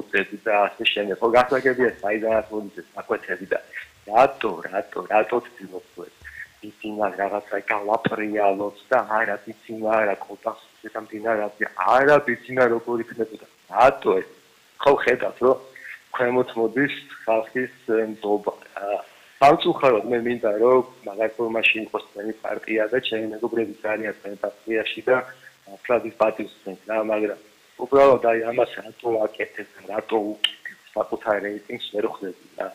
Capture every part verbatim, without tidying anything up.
მოუწევთ და ასე შემდეგ. ხო გასაგებია საიდანაც მოდის ეს საკვეთები და რატო, რატო, რატო ცდილობთ ეს ისინა რაღაცა გავაპრიალოთ და არა ისინა რა კონტაქტზე სამდინარაზე არა ისინა როგორ იქნებოდა. რატო ეს? ხო ხედავთ რომ ქვემოთ მოდის ხალხის ნდობა. სამწუხაროდ მე მინდა რომ მაგარ ფორმაში იყოს თქვენი პარტია და ჩემი მეგობრები ძალიან თქვენ პარტიაში და ფლაგის პატივსცემთ რა, მაგრამ უბრალოდ აი ამას რატო აკეთებ, რატო უკეთებ საკუთარ რეიტინგს ვერ ხვდები რა.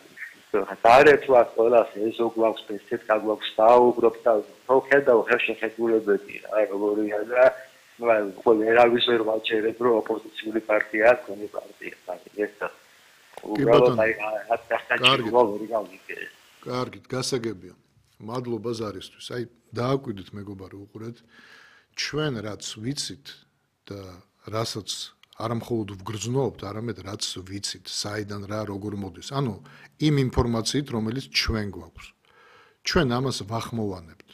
დაარეთვა ყველას ეზო გვაქვს, ესეთ გაგვაქვს საუბრობთ და ხო ხედავ ხელშეხედულებები რა, როგორია და ну, ვერავის ვერ ვაჩერებ რომ ოპოზიციური პარტიაა თქვენი პარტია, ეს და უბრალოდ აი ათასი ვერი გავიგე. კარგით, გასაგებია. მადლობა ზარისთვის. აი, დააკვირდით მეგობარო, უყურეთ. ჩვენ რაც ვიცით და რასაც არა მხოლოდ ვგრძნობთ, არამედ რაც ვიცით, საიდან რა როგორ მოდის. ანუ იმ ინფორმაციით, რომელიც ჩვენ გვაქვს. ჩვენ ამას ვახმოვანებთ.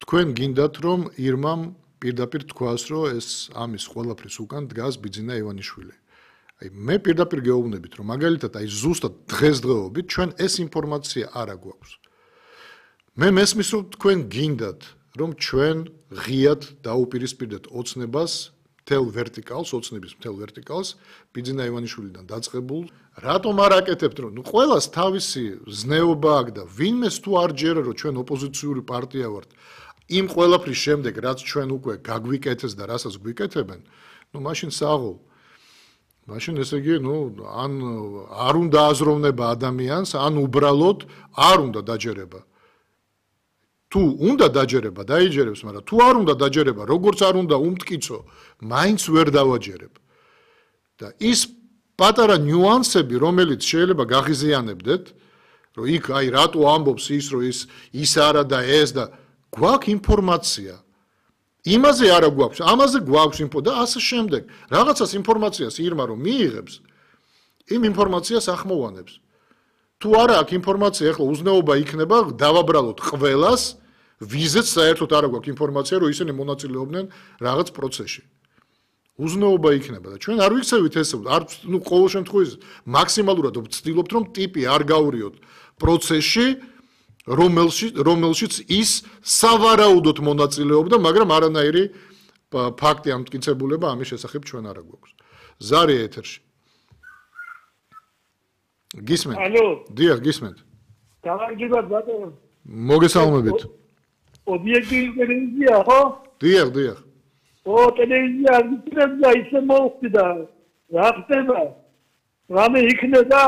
თქვენ გინდათ, რომ ირმამ პირდაპირ თქვას, რომ ეს ამის ყველაფრის უკან დგას ბიძინა ივანიშვილი. აი მე პირდაპირ გეუბნებით, რომ მაგალითად აი ზუსტად დღესდღეობით ჩვენ ეს ინფორმაცია არ აგვაქვს. მე მესმის რომ თქვენ გინდათ, რომ ჩვენ ღიად დაუპირისპირდეთ ოცნებას, მთელ ვერტიკალს, ოცნების მთელ ვერტიკალს, ბიძინა ივანიშვილიდან დაწყებულ, რატომ არ აკეთებთ, რომ ნუ ყველას თავისი ზნეობა აქვს და ვინმეს თუ არ ჯერა, რომ ჩვენ ოპოზიციური პარტია ვართ, იმ ყველაფრის შემდეგ, რაც ჩვენ უკვე გაგვიკეთეს და რასაც გვიკეთებენ, ნუ მაშინ საღოლ მაშინ ესე იგი, ნუ ან არ უნდა აზროვნება ადამიანს, ან უბრალოდ არ უნდა დაჯერება. თუ უნდა დაჯერება, დაიჯერებს, მაგრამ თუ არ უნდა დაჯერება, როგორც არ უნდა უმტკიცო, მაინც ვერ დავაჯერებ. და ის პატარა ნიუანსები, რომელიც შეიძლება გაღიზიანებდეთ, რომ იქ აი რატო ამბობს ის, რომ ის ის არა და ეს და გვაქვს ინფორმაცია. იმაზე არა გვაქვს, ამაზე გვაქვს ინფო და ასე შემდეგ. რაღაცას ინფორმაციას ირმა რომ მიიღებს, იმ ინფორმაციას ახმოვანებს. თუ არა აქვს ინფორმაცია, ახლა უზნეობა იქნება დავაბრალოთ ყველას, ვიზეც საერთოდ არა გვაქვს ინფორმაცია, რომ ისინი მონაწილეობდნენ რაღაც პროცესში. უზნეობა იქნება და ჩვენ არ ვიქცევით ესე, არ ნუ ყოველ შემთხვევაში მაქსიმალურად ვცდილობთ რომ ტიპი არ გავრიოთ პროცესში, რომელშიც რომელშიც ის სავარაუდოდ მონაწილეობდა, მაგრამ არანაირი ფაქტი ან მტკიცებულება ამის შესახებ ჩვენ არ გვაქვს. ზარი ეთერში. გისმენთ? ალო. დიახ, გისმენთ. გამარჯობათ ბატონო. მოგესალმებით. ობიექტივი ტელევიზია, ხო? დიახ, დიახ. ო, ტელევიზია გიწევდა ისე მოხდა. რა ხდება? რამე იქნება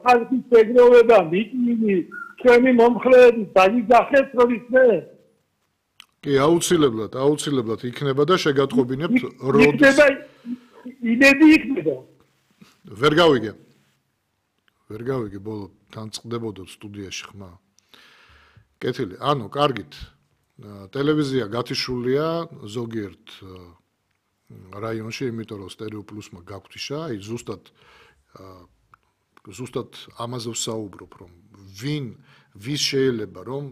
ხალხის ეგროვება, მიტინგი ჩვენი მომხრეები დაიგახეთ რომ ისე კი აუცილებლად აუცილებლად იქნება და შეგატყობინებთ როდის იქნება იმედი იქნება ვერ გავიგე ვერ გავიგე ბოლო თან წდებოდოთ სტუდიაში ხმა კეთილი ანუ კარგით ტელევიზია გათიშულია ზოგიერთ რაიონში იმიტომ რომ სტერეო პლუსმა გაგვთიშა აი ზუსტად ზუსტად ამაზე ვსაუბრობ რომ ვინ ვის შეიძლება რომ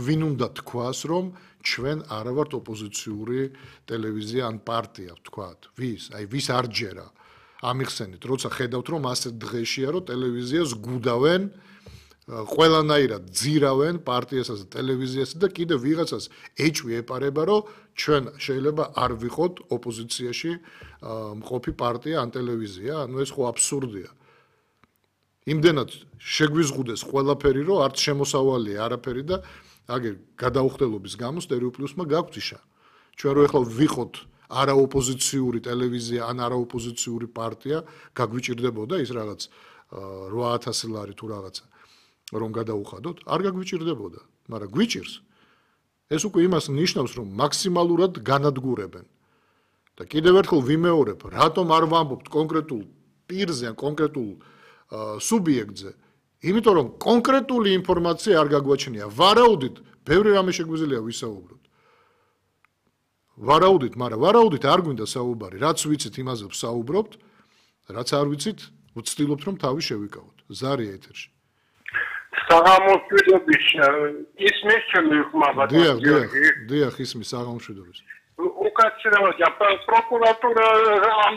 ვინ უნდა თქვას რომ ჩვენ არა ვართ ოპოზიციური ტელევიზია ან პარტია ვთქვათ ვის აი ვის არ ჯერა ამიხსენით როცა ხედავთ რომ ასე დღეშია რომ ტელევიზიას გუდავენ ყველანაირად ძირავენ პარტიასაც და ტელევიზიასაც და კიდე ვიღაცას ეჭვი ეპარება რომ ჩვენ შეიძლება არ ვიყოთ ოპოზიციაში მყოფი პარტია ან ტელევიზია ანუ ეს ხო აბსურდია იმდენად შეგვიზღუდეს ყველაფერი რომ არც შემოსავალია არაფერი და აგერ გადაუხდელობის გამო სტერეო პლუსმა გაგვთიშა ჩვენ რო ეხლა ვიყოთ არაოპოზიციური ტელევიზია ან არაოპოზიციური პარტია გაგვიჭირდებოდა ის რაღაც რვა ათასი ლარი თუ რაღაცა რომ გადაუხადოთ არ გაგვიჭირდებოდა მაგრამ გვიჭირს ეს უკვე იმას ნიშნავს რომ მაქსიმალურად განადგურებენ და კიდევ ერთხელ ვიმეორებ რატომ არ ვამბობთ კონკრეტულ პირზე ან კონკრეტულ სუბიექტზე იმიტომ რომ კონკრეტული ინფორმაცია არ გაგვაჩნია ვარაუდით ბევრი რამე შეგვიძლია ვისაუბროთ ვარაუდით მაგრამ ვარაუდით არ გვინდა საუბარი რაც ვიცით იმაზე ვსაუბრობთ რაც არ ვიცით ვცდილობთ რომ თავი შევიკავოთ ზარი ეთერში საღამოშვიდობის ისმის ჩემი ხმა ბატონო გიორგი დიახ ისმის საღამოშვიდობის უკაცრავად პროკურატურა ამ